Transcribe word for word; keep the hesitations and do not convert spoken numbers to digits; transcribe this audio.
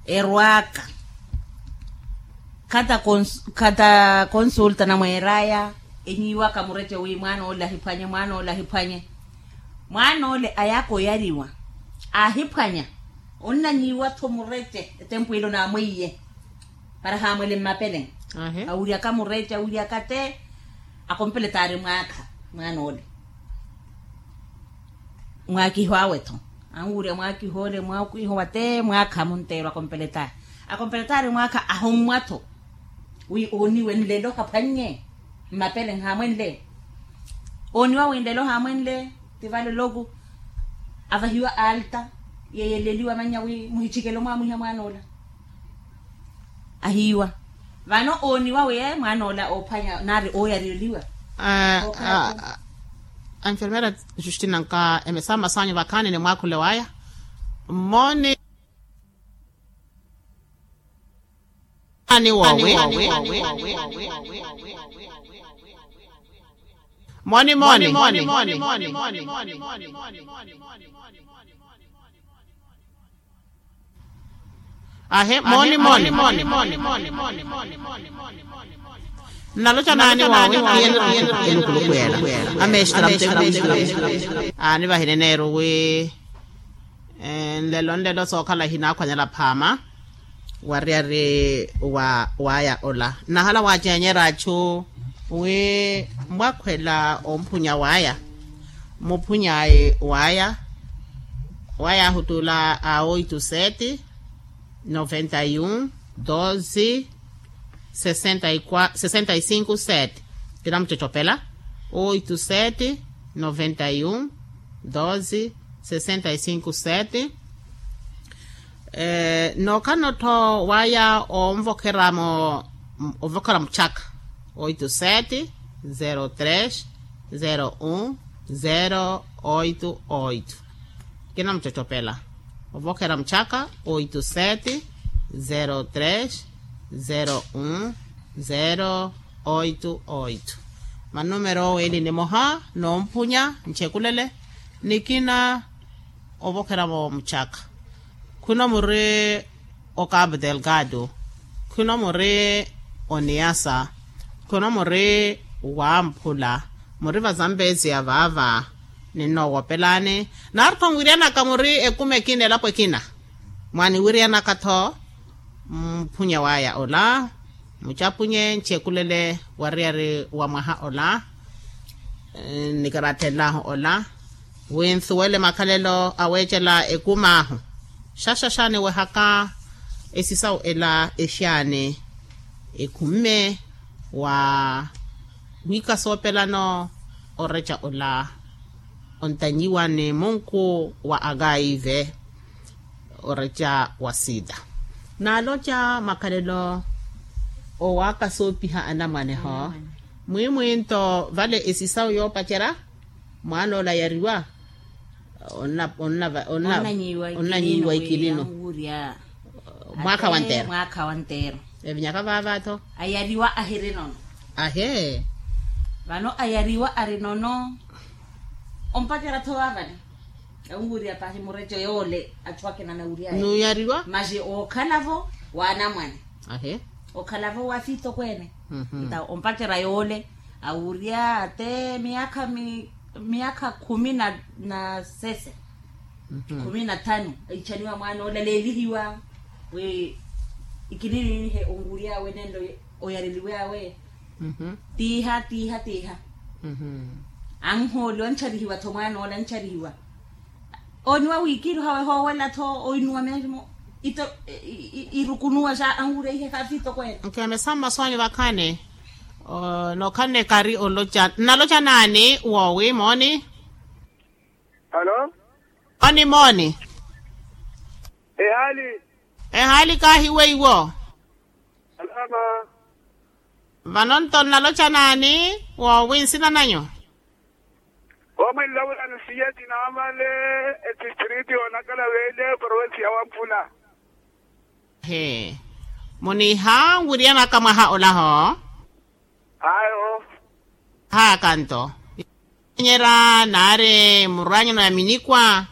Erwaaka khata konsulta namweeraya, enyiiwaka murece wi mwaana ole ahiphwanye mwaana ole ahiphwanye. Mwaana ole ayaaka oyariwa, aahiphwanya. Onnanyiiwa-tho murece etempu ilo naamweiye para haamwele mmapele. Awuryaka murece awuryaka te. Akompeletaari mwaakha mwaana ole. Mwaakiho awe-tho anwurya mwaakiho ole mwaakihowa te mwaakha munteerwa akompeletaari. Akompeletaari mwaakha ahommwa-tho wi ooniwe nlelo haphwannye. Mmapele nhaamwenle ooniwa wi nlelo haamwenle. Ti vale loku avahiwa alta yeyeleliwa mannya wi muhichikele omwamwiha mwaana ola. Ahiiwa vano ooniwa wi mwaana ola oophwanya nari ooyareliwa. Enfermera justina nka emesa mmasanyu vakhaani ni mwaakhule waya. Mmoni ani wowi. Moni moni. Ahe moni moni. Nnaloca naani wawe? Enukulukuyela amestra mtekusi. Anivahile neeru wi nlelo nlelo sookhala hinaakhwanyela phaama. Wariyari waya ola nnahala wacenyera achu wi mwakhwela omphunya waya. Muphuny'ayi waya waya ahutuula a oito sete noventa e um doze sessenta e cinco sete. Kinamucocopela oito sete noventa e um doze sessenta e cinco sete. Nookhalano-tho waya onvokhera muchaka oito sete zero tres zero um zero oito oito. Kinamucocopela ovokhera muchaka oito sete zero tres zero um zero oito oito. Manumero owo eli nimoha noomphunya nchekulele nikina. Ovokhera-vo muchaka khwino muri o cabo delgado khwino muri o niasa khwino muri wamphula muri va zambezia vaava. Ninnoowopelani nari-tho nwiryanaka muri ekumi ekina elapo ekina. Mwaniwiryanaka-tho muphunya waya ola mucapunye nchekulele wariyari wa mwaha ola. Nikaratthenlahu ola wi nsuwele makhalelo aweecela ekumi ahu. Xaxaxa niwehaka esisawu ela exaani ekhumme wa wiika soopelano oreca ola ontanyiwa ni munku wa akaive. Oreca wa sida naaloca makhalelo owaaka soopiha anamwaneho. Mwimwinto vale esisawu yoopacerya mwaan'ola yariwa onnanyiiwa ikilino. Mwaakha wanteero. Evinyaka vaava-tho ayariwa ahiri nono. Ahe vano ayariwa ari nono. Ompacerya-tho vaavale. Anwurya pahi mureco yoole achu akina anawuryaya nuyariwa masi ookhala-vo waanamwane. Ahe ookhala-vo waafitokweene. Nta ompacerya yoole awurya ate miyaakha khumi na sese khumi na thanu. Aichaniwa mwaana ola leelihiwa wi ikilini nihe onwurya awe nenlo oyareliwe awe. Tiiha tiiha tiiha anhooliwa ancharihiwa-tho mwaan'ola ancharihiwa. Ooniwa wiikiiruha wehoowela-tho oinuwa meerimo irukunuwa xa anwurya ihe haafitokweene. Nkemesa mmasoonyo vakhaani nookhalana ekari oloca nnaloca naani woowi mooni. Mooni mooni. Ehaali ehaali kaahiweiwo. Vano nto nnaloca naani woowi nsina nanyu? Omwinlawula nsiye tinaamale etistriti yoonakala veele provensi ya wampula. He muniiha nwiryanaka mwaha olaho. Ayo. Haaka nto nyera naari murwanyano ya minikwa.